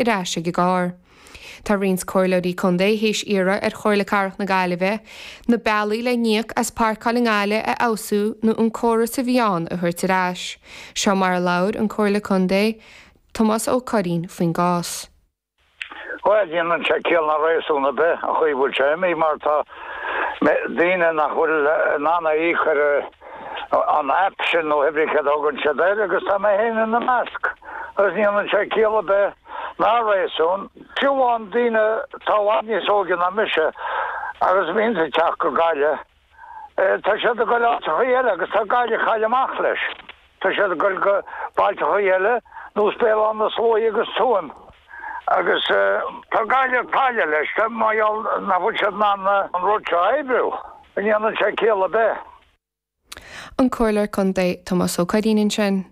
Ar ais ag an gcarr. Tá roinnt comhairleoirí contae théis iarraidh ar Chomhairle Cathrach na Gaillimhe na bealaí le n-íoc as páirceáil i nGaillimh a fheabhsú nó an córas a bhí ann a thabhairt ar ais. Seo mar a labhair an Comhairleoir Contae, Tomás Ó Curraoin faoin gcás. Bhuel, ní dhéanann sé ciall ná réasún ar bith an chaoi a bhfuil sé imithe mar tá daoine nach bhfuil in ann a íoc ar an app sin nó hébrí céard a thugann siad air agus tá mé féin ina measc agus ní dhéanann sé ciall ar bith ná réasún. Fiú amháin daoine atá i bhfad níos óige ná mise agus a bhíonns ag teacht go Gaillimh, tá siad ag goil áiteachaí eile agus tá Gaillimh ag cailleadh amach leis. Tá siad ag goil go bailteachaí eile nós Béal Átha na Sluaighe agus Tuaim agus tá Gaillimh ag cailleadh leis mar gheall nach bhfuil siad in ann an rud seo a oibriú. Ní dhéanann sé ciall ar bith. An Comhairleoir Contae Tomás Ó Curraoin ansin.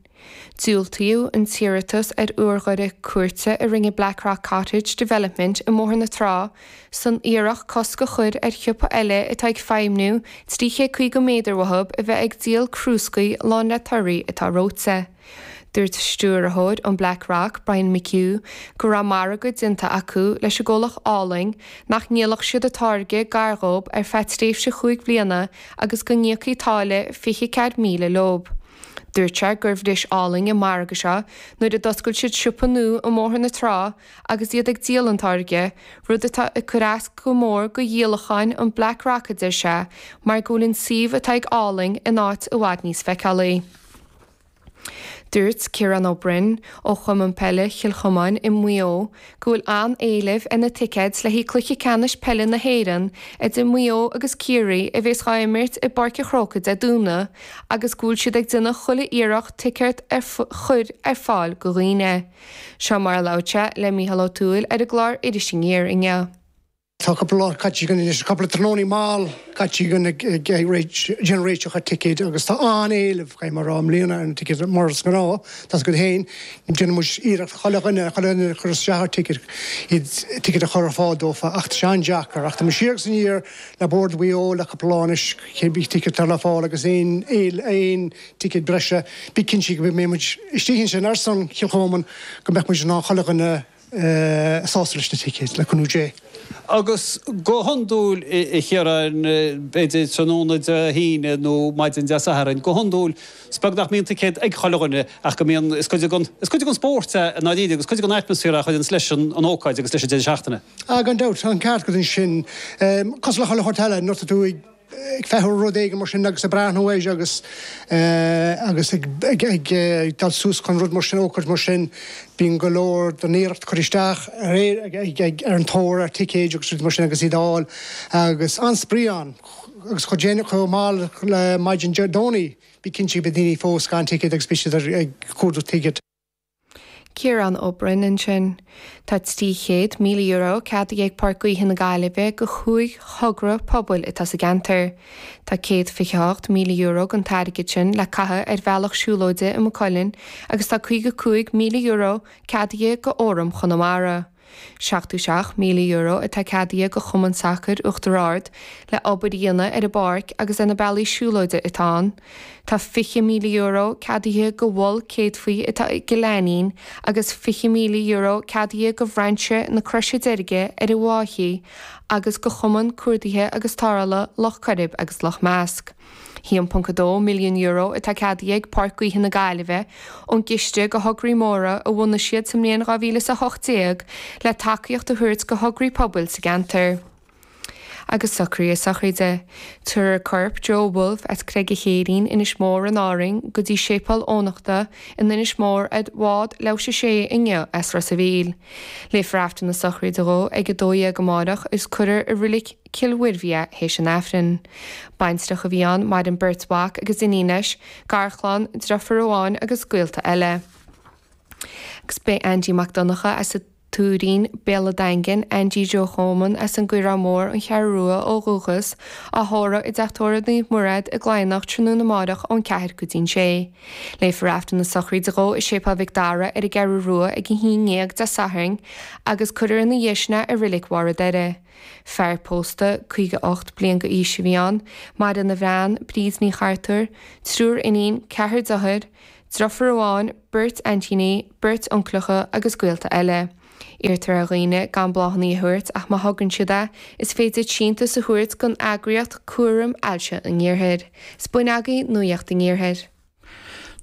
Diúltaíodh an t-iarratas ar urghaire cúirte a rinne Blackrock Cottage Development i mBóthar na Trá san iarracht cosc a chur ar shiopa eile atá ag feidhmniú 350 méadar uathu a bheith ag díol crúscaí lán le torthaí atá reoite. Dúirt stiúrthóir an Black Rock, Brian McHugh, go raibh margadh déanta acu leis an gcomhlacht Álainn nach ndíolfadh siad a táirge gar dhób ar feadh tréimhse chúig bhliana agus go n-íocfaí táille 24,000 leob. Dúirt sé gur bhris Álainn an margadh seo nuair a d'oscail siad siopa nua i mBóthar na Trá agus iad ag díol an táirge, rud atá ag cur as go mór go dhíolacháin an Black Rock a deir sé, mar go bhfuil an suíomh atá ag Álainn in áit i bhfad níos feiceálaí. Dúirt Ciarán Ó Broin ó Chumann Peile Chill Chomáin i Maigh Eo go bhfuil an-éileamh ar na ticéid le haghaidh Cluiche Ceannais Peile na hÉireann idir Maigh Eo agus Ciarraí a bhéas dhá imirt i bPáirc an Chrócaigh Dé Domhnaigh agus go bhfuil siad ag déanamh chuile iarracht ticéad a chur ar fáil go dhaoine. Seo mar a labhair sé le Mícheál Ó Tuathail ar an gclár Iris Aniar inniu. Tá cúpla lá caite againn anois, cúpla tráthnónaí mall caite againn ag déanamh réiteach ar ticéid agus tá an-éileamh, caithfidh mé a rá, i mbliana ar na ticéid mar is gnáth, tá's agat féin, déanann muid iarracht chuile dhuine, chuile dhuine a chur isteach ar ticéad, iad, ticéad a chur ar fáil dófa ach tá sé an-deacair. Ach tá muid siar agus aniar le Bord Mhaigh Eo le cúpla lá anois, cibé ticéad atá le fáil agus aon, aon ticéad breise, bí cinnte go mbeidh muid istigh ansin ar son Chill Chomáin go mbeadh muid in ann chuile dhuine sásta leis na ticéid, le cúnamh Dé. Agus go hiondúil, a Chiaráin, b'fhéidir tráthnóna Dé hAoine nó maidin Dé Sathairn, go hiondúil, is beag nach mbíonn ticéad ag chuile dhuine ach go mbíonn, is cuid den, is cuid den spórt é i ndáiríre agus cuid den atmaisféar é a chuireanns leis an ócáid agus leis an deireadh seachtaine. Ah, gan dabht, tá an ceart agat ansin. Cosúil le chuile shórt eile, nuair atá tú ag. ag feitheamh ar rud éigin mar sin agus ag breathnú air agus agus ag ag dul suas chun rud mar sin, ócáid mar sin, bíonn go leor den iarracht curtha isteach ar ag ag ar an tóir ar ticéid agus rudaí mar sin agus iad a fháil agus an-spraoi ann agus chomh déanach chomh mall le maidin Dé Domhnaigh bí cinnte go mbeidh daoine fós gan ticéad agus beidh siad ag cuardach ticéad. Ciarán Ó Broin ansin. Tá €300,000 ceadaithe ag Páirc Gaoithe na Gaillimhe go chúig thogra pobail atá sa gceantar. Tá €128,000 den t-airgead sin le caitheamh ar bhealach siúlóide i Maigh Cuilinn agus tá €55,000 ceadaithe go Fhóram Chonamara. €77,000 atá ceadaithe go Chumann Sacair Uachtar Ard le obair a dhéanamh ar an bpáirc agus ar na bealaí siúlóide atá ann. Tá €20,000 ceadaithe go Mhol Céadfaí atá i gCill Ainnín agus €20,000 ceadaithe go Bhrainse na Croise Deirge ar an bhFaiche agus go Chumann Cuardaithe agus Tarrthála Loch Coirib agus Loch Measc. €1.2 milliún atá ceadaithe ag Páirc Gaoithe na Gaillimhe ón gciste go thograí móra a bhunaigh siad sa mbliain 2018 le tacaíocht a thabhairt go thograí pobail sa gceantar. Agus socruithe sochraide. Tabharfar corp Joe Woulfe as Creag an Chéirín, Inis Mór in Árainn, go dtí Séipéal Eoghanachta in Inis Mór ar bhád leathuair tar éis a 6 inniu as Ros a' Mhíl. Léifear Aifreann na sochraide dhó ag 12 amárach is cuirfear i Reilig Cill Mhuirbhigh é théis an Aifrinn. Baintreach a bhí ann, maireann beirt mhac agus iníon leis, garchlann, driofúr amháin agus gaolta eile. Agus beidh Andy Mac Donncha as an Tuairín, Béal an Daingin, Andy Joe Choman as an gCaorán Mór, An Cheathrú Rua ó dhúchas, á thórramh i dTeach Tórraimh Naomh Mairéad i gCladhnach tráthnóna amáireach ón 4 go dtí'n 6. Léifear Aifreann na sochraide dhó i Séipéal Mhic Dara ar an gCeathrú Rua ag 11 Dé Sathairn agus cuirfear ina dhiaidh sin é i Reilig Bharr an Doire. Fear pósta, 58 bliain d'aois a bhí ann, maireann a bhean, Bríd Ní Chartúir, triúr iníon, ceathrar deartháir, driofúr amháin, beirt aintíní, beirt uncaileacha agus gaolta eile. Iarrtar ar dhaoine gan bláthanna a thabhairt ach má thugann siad é, is féidir síntiús a thabhairt don eagraíocht Cúram Ailse an Iarthair. 'S b'in agaibh Nuacht an Iarthair.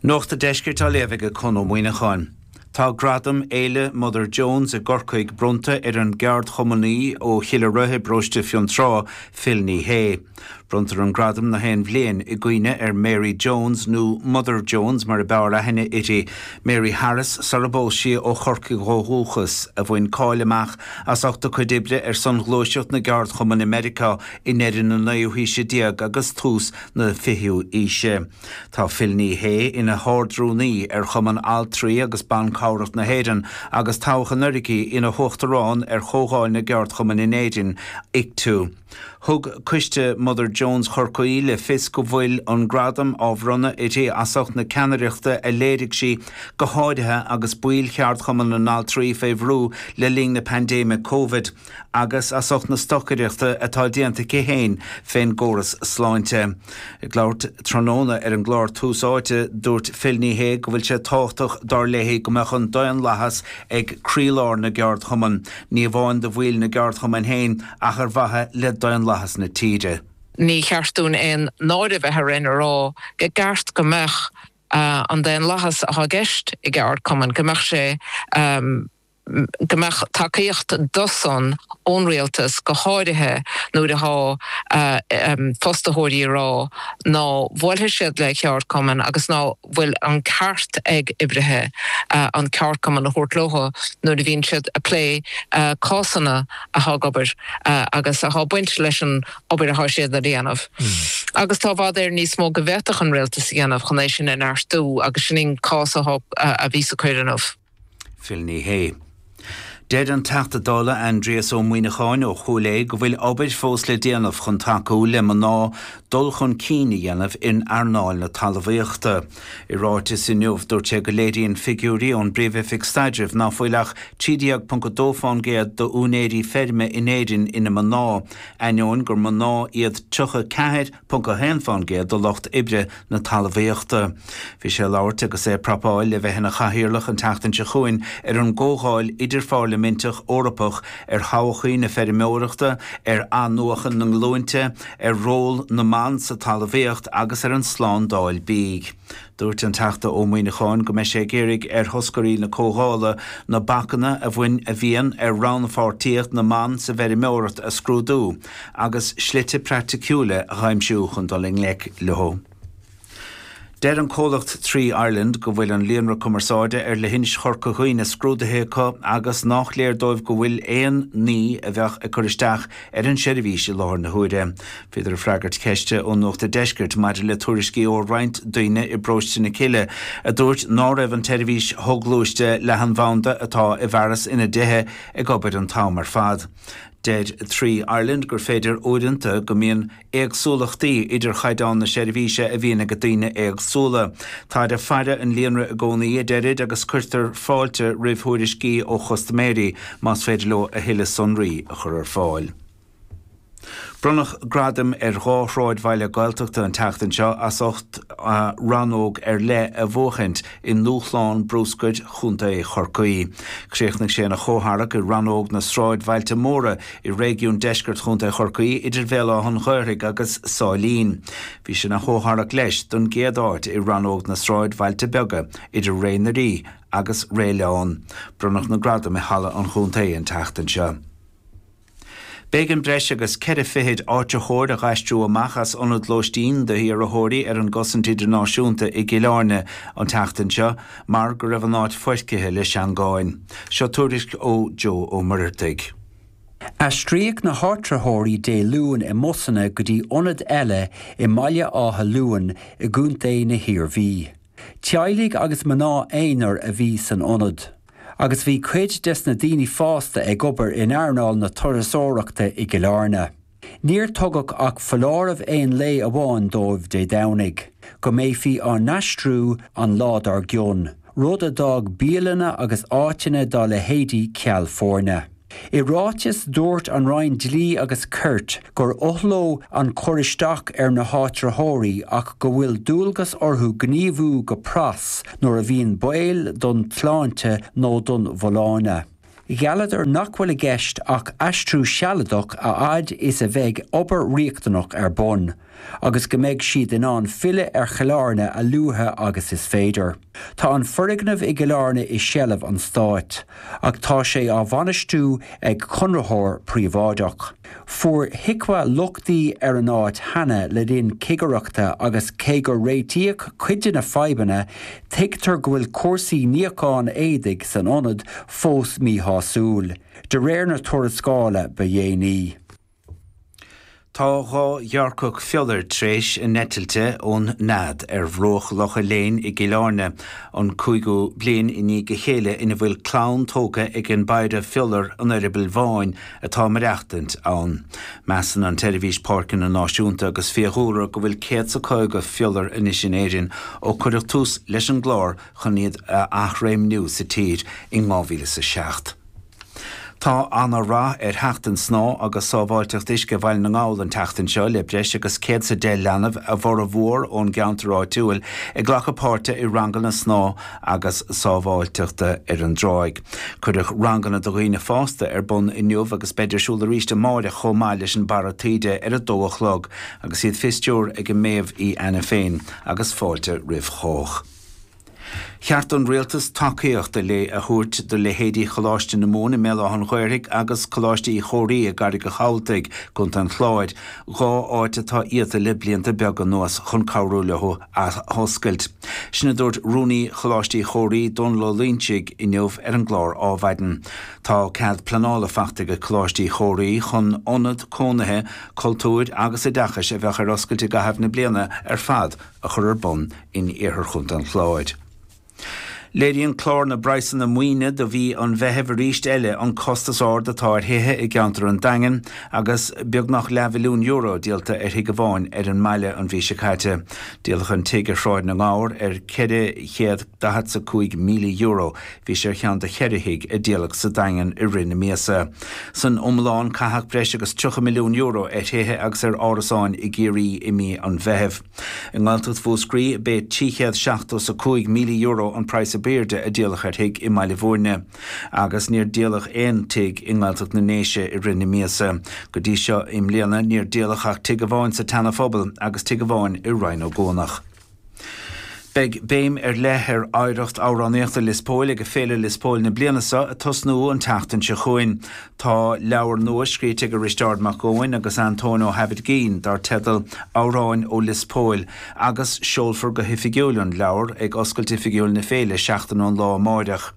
Nuacht an Deiscirt á léamh ag Conn Ó Muíneacháin. Tá gradam Fhéile Mother Jones i gCorcaigh bronnta ar an gceardchumannaí ó Chill Aroidhe i bparóiste Fionntrá, Phil Ní Sheaghdha. Bronntar an gradam na haon bhliain i gcuimhne ar Mary Jones, nó Mother Jones mar a b'fhearr aithne uirthi, Mary Harris sara bpós sí ó Chorcaigh ó dhúchas, a bhain cáil amach as ucht a cuid oibre ar son ghluaiseacht na gceardchumann i Meiriceá i ndeireadh na naoú haoise déag agus tús na fichiú aoise. Tá Phil Ní Sheaghdha ina hArd-Rúnaí ar Chumann Altraí agus Ban Cabhrach na hÉireann agus toghadh anuraidh ina hUachtarán ar Chomhdháil na gCeardchumann in Éirinn, ICTU. Thug Coiste Mother Jones Chorcaí le fios go bhfuil an gradam á bhronnadh uirthi as ucht na ceannaireachta a léirigh sí, go háirithe agus baill Cheardchumann na nAltraí fé bhrú le linn na paindéime Covid. agus as ucht na stocaireachta atá déanta aici féin fén gcóras sláinte. Ag labhairt tráthnóna ar an gclár Tús Áite, dúirt Phil Ní Sheaghdha go bhfuil sé tábhachtach dar léi go mbeadh an daonlathas ag croílár na gceardchumann, ní amháin do bhaill na gceardchumann féin ach ar mhaithe le daonlathas na tíre. Ní cheart dúinn aon náire bheith orainn a rá go gceart go mbeadh an daonlathas atá i gceist i gceardchumann, go mbeadh sé, go mbeadh tacaíocht dó san ón rialtas, go háirithe nuair atá fostaitheoirí ag rá ná buailfidh siad le ceardchumann agus ná bhfuil an ceart ag oibrithe an ceardchumann a thabhairt leo nuair a bhíonn siad ag plé cásanna atá ag obair agus atá ag baint leis an obair atá siad a dhéanamh. Agus tá i bhfad Éireann níos mó go bhféadfadh an rialtas a dhéanamh chun é sin a neartú agus sin an cás atá a bhí sa cur inniu. Phil Ní Sheaghdha. Deir an Teachta Dála Aindrias Ó Muíneacháin ó Chúil Aodha go bhfuil obair fós le déanamh chun tacú le mná dul chun cinn a dhéanamh in earnáil na talmhaíochta. I ráiteas inniu dúirt sé go léiríonn figiúirí ón bPríomh-Oifig Staidrimh ná fuil ach 13.2% d'úinéirí feirme in Éirinn ina mná, ainneoin gur mná iad 34 .1% de lucht oibre na talmhaíochta. Bhí sé ag labhairt agus é ag prapáil le bheith ina chathaoirleach an tseachtain seo chugainn ar an gComhdháil Idirphairliminteach Eorpach ar thodhchaí na feirmeoireachta, ar athnuachan na nglúinte, ar ról na mban sa talmhaíocht agus ar an tslándáil bídh. Dúirt an Teachta Ó Muíneacháin go mbeidh sé ag iarraidh ar thoscairí na comhdhála na bacanna a bhain a bhíonn ar rannpháirtíocht na mban sa bhfeirmeoireacht a scrúdú agus slite praiticiúla a aimsiú chun dul i ngleic leo. Deir an comhlacht Three Ireland go bhfuil an líonra cumarsáide ar leithinis Chorca Dhuibhne scrúdaithe acu agus nách léir dóibh go bhfuil aon ní a bheadh ag cur isteach ar an seirbhís i láthair na huaire. Bhíodar ag freagairt ceiste ó Nuacht a' Deiscirt maidir le tuairiscí ó roinnt daoine i bparóiste na Cille a dúirt ná raibh an tseirbhís shoghluaiste leathanbhanda atá i bhfearas ina dtithe ag obair an t-am ar fad. Deir Three Ireland gur féidir uaireanta go mbíonn éagsúlachtaí idir chaighdeán na seirbhíse a bhíonn ag daoine éagsúla. Táid ag faire an líonra i gcónaí, a deirid, agus cuirtear fáilte roimh thuairiscí ó chustaiméirí más féidir leo a thuilleadh sonraí a chur ar fáil. Bronnadh gradaim ar dhá shráidbhaile Gaeltachta an tseachtain seo as ucht rannóg ar leith a bhuachaint i nDúshlán Brúscair Chontae Chorcaí. Chríochnaigh sé ina chomhtharrac i rannóg na Sráidbhailte Móra i réigiún deiscirt Chontae Chorcaí idir Bhéal Átha an Ghaorthaidh agus Sáilín. Bhí sé ina chomhtharrac leis don gcéad áit i rannóg na Sráidbhailte Beaga idir Ré na Rí agus Ré Leon. Bronnadh na gradaim i Halla an Chontae an tseachtain seo. B'éigean breis agus ceithre fichid áitritheoir a dh'aistriú amach as ionad lóistín d'iarrthóirí ar an gcosaint idirnáisiúnta i gCill Airne an tseachtain seo mar go raibh an áit foircithe le seangáin. Seo tuairisc ó Joe Ó Muircheartaigh. Aistríodh na háitritheoirí Dé Luain i mbusanna go dtí ionad eile i mBaile Átha Luain i gContae na hIarmhí. Teaghlaigh agus mná aonair a bhí san ionad, agus bhí cuid des na daoine fásta ag obair in earnáil na turasóireachta i gCill Airne. Níor tugadh ach foláireamh aon lae amháin dóibh Dé Domhnaigh, go mbeifí á n-aistriú an lá dár gcionn, rud a d'fhág bialanna agus áiteanna dá leithéidí ceal foirne. I ráiteas, dúirt an Roinn Dlí agus Cirt gur oth leo an cur isteach ar na háitritheoirí ach go bhfuil dualgas orthu gníomhú go pras nuair a bhíonn baol don tsláinte nó don bhfolláine. Ghealladar nach bhfuil i gceist ach aistriú sealadach a fhad is a bheidh obair riachtanach ar bun, agus go mbeidh siad in ann filleadh ar Chill Airne a luaithe agus is féidir. Tá an foirgneamh i gCill Airne i seilbh an stáit, ach tá sé á bhainistiú ag conraitheoir príobháideach. Fuair HIQA lochtaí ar an áit cheana le linn cigireachta agus cé gur réitíodh cuid de na fadhbanna, tuigtear go bhfuil cúrsaí níocháin éadaigh san ionad fós míshásúil, de réir na tuarascála ba dhéanaí. Tá 2 ghearrcach fiolair tar éis a n-eitilte ón nead ar bhruach Locha Léin i gCill Airne, an cúigiú bliain i ndiaidh a chéile ina bhfuil clann tógtha ag an bpéire fiolar an eireabaill bháin atá ag maireachtaint ann. Measann an tSeirbhís Páirceanna Náisiúnta agus Fiadhúlra go bhfuil 150 fiolar anois in Éirinn ó cuireadh tús leis an gclár chun iad a athréimniú sa tír in 2007. Tá ana-rath ar Sheachtain Snámha agus Sábháilteacht Uisce Bhaile na nGall an tseachtain seo le breis agus 110 leanbh, a bhformhór ón gceantar áitiúil, ag glacadh páirte i ranganna snámha agus sábháilteachta ar an dtráigh. Cuireadh ranganna do dhaoine fásta ar bun inniu agus beid ar siúl arís amáireach chomh maith leis an bPara Taoide ar a dó a chlog agus iad fé stiúir ag an Méabh Uí Ainiféin agus fáilte roimh chách. Cheart don Rialtas tacaíocht a thabhairt do leithéidí Choláiste na Mumhan i mBéal Átha an Ghaorthaidh agus Coláiste Uí Chomhraí i gCarraig an Chabhaltaigh, Co. an Chláir, 2 áit atá iata le blianta beaga anuas chun cabhrú leo athoscailt. Sin a dúirt Rúnaí Choláiste Uí Chomhraí, Dónal Ó Loingsigh, inniu ar an gclár Ádhmhaidin. Tá cead pleanála faighte ag Coláiste Uí Chomhraí chun ionad cónaithe, cultúir agus oideachais a bheadh ar oscailt i gcaitheamh na bliana ar fad a chur ar bun in iarthar Chontae an Chláir. Léiríonn clár na bpraghsanna maoine do mhí an Mheithimh arís eile an costas ard atá ar thithe i gceantar an Daingin agus beagnach leathmhilliún euro díolta ar thigh amháin ar an mbaile an mhí seo caite. Díoladh an tigh ar Shráid na nGabhar ar €445,000. Bhí sé ar cheann de cheithre thigh a díoladh sa Daingean i rith na míosa. San iomlán caitheadh breis agus €30 milliún ar thithe agus ar árasáin i gCiarraí i mí an Mheithimh. I nGaeltacht Mhúscraí, b'é €375,000 an praghas ab aoirde a díoladh ar thigh i mBaile Bhúirne. Agus níor díoladh aon tigh i nGaeltacht na nDéise i rith na míosa. Go dtí seo i mbliana, níor díoladh ach tigh amháin sa tSeana Phobal agus tigh amháin i Rinn Ó gCuanach. Beidh béim ar leith ar oidhreacht amhránaíochta Lios Póil ag Féile Lios Póil na bliana seo, ag tosnú an tseachtain seo chugainn. Tá leabhar nua scríte ag Risteárd Mac Eoin agus Antóin Ó hAimhirgín dar teideal Amhráin ó Lios Póil agus seolfar go hoifigiúil an leabhar ag oscailt oifigiúil na féile seachtain ón lá amáireach.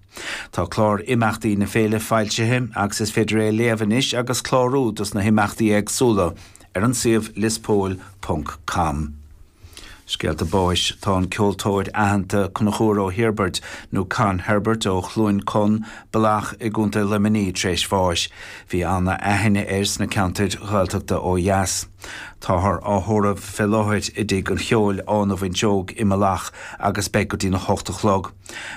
Tá clár imeachtaí na féile foilsithe agus is féidir é a léamh anois agus clárú dos na himeachtaí éagsúla ar an suíomh liospóil ponc com. Scéalta báis Tá an ceoltóir aitheanta Conchúr Ó hIorbaird, nó Con Herbert ó Chluain Con, Bealach i gContae Luimnigh tar éis bháis. Bhí ana-aithne air sna ceantair Ghaeltachta ó dheas. Táthar á thórramh fé láthair i dTigh an Cheoil, Áth na bhFuinseog i mBealach agus beidh go dtína hocht a chlog.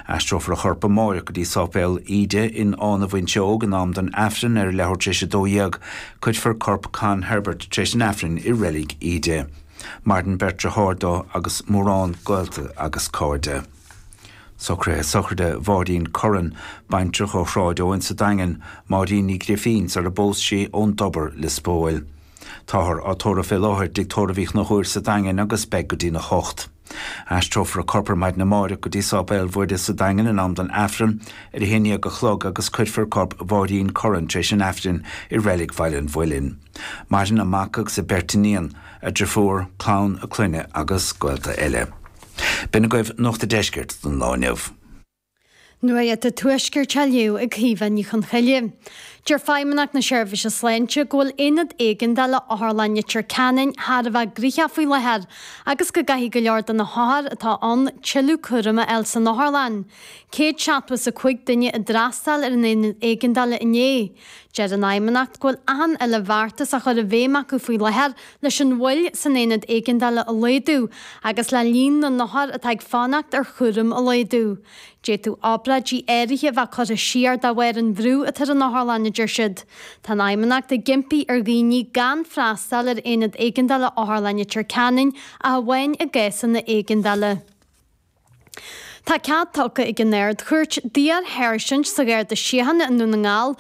Aistreofar a chorp amáireach go dtí Sáipéal Íde in Áth na bhFuinseog in am don Aifreann ar a leathuair tar éis 12. Cuirfear corp Con Herbert tar éis an Aifrinn i Reilig Íde. Maireann beirt deartháir dó agus mórán gaolta agus cairde. Socruithe sochraide Mháirín Curran, baintreach ó Shráid Eoin sa Daingean, Máirín Ní Ghrifín sar a bpós sí ón dTobar, Lios Póil. Táthar á tórramh fé láthair i dTigh Tórraimh Uí Chonchúir sa Daingean agus beidh go dtína hocht. Aistreofar a corp ar maidin amáireach go dtí Sáipéal Mhuire sa Daingean in am don Aifreann ar a haon dhéag a chlog agus cuirfear corp Mháirín Curran tar éis an Aifrinn i Reilig Bhaile an Mhuilinn. Maireann a mac agus a beirt iníon, a driofúr, clann a clainne agus gaolta eile. B'in agaibh Nuacht a' Deiscirt don lá inniu. Nuacht an Tuaiscirt á léamh ag Caoimhe Ní Chonchoille. Deir Feidhmeannacht na Seirbhíse Sláinte go bhfuil aonad éigeandála Otharlann Leitir Ceanainn thar a bheith gnoitheach faoi láthair agus go gcaithfidh go leor de na hothair atá ann tuilleadh cúraim a fháil san otharlann. 175 duine a d'fhreastail ar an aonad éigeandála inné. Deir an Fheidhmeannacht go bhfuil achan uile bheartas á chur i bhfeidhm acu faoi láthair leis an mhoill san aonad éigeandála a laghdú agus le líon na n-othar atá ag fanacht ar chúram a laghdú. D'fhéadfadh obráidí áirithe a bheith curtha siar de bharr an bhrú atá ar an otharlann, a deir siad. Tá an Fheidhmeannacht ag impí ar dhaoine gan freastal ar aonad éigeandála Otharlann Leitir Ceanainn ach amháin i gcásanna éigeandála. Tá cead tugtha ag an Ard-Chúirt d'iar-sháirsint sa Gharda Síochána i nDún na nGall.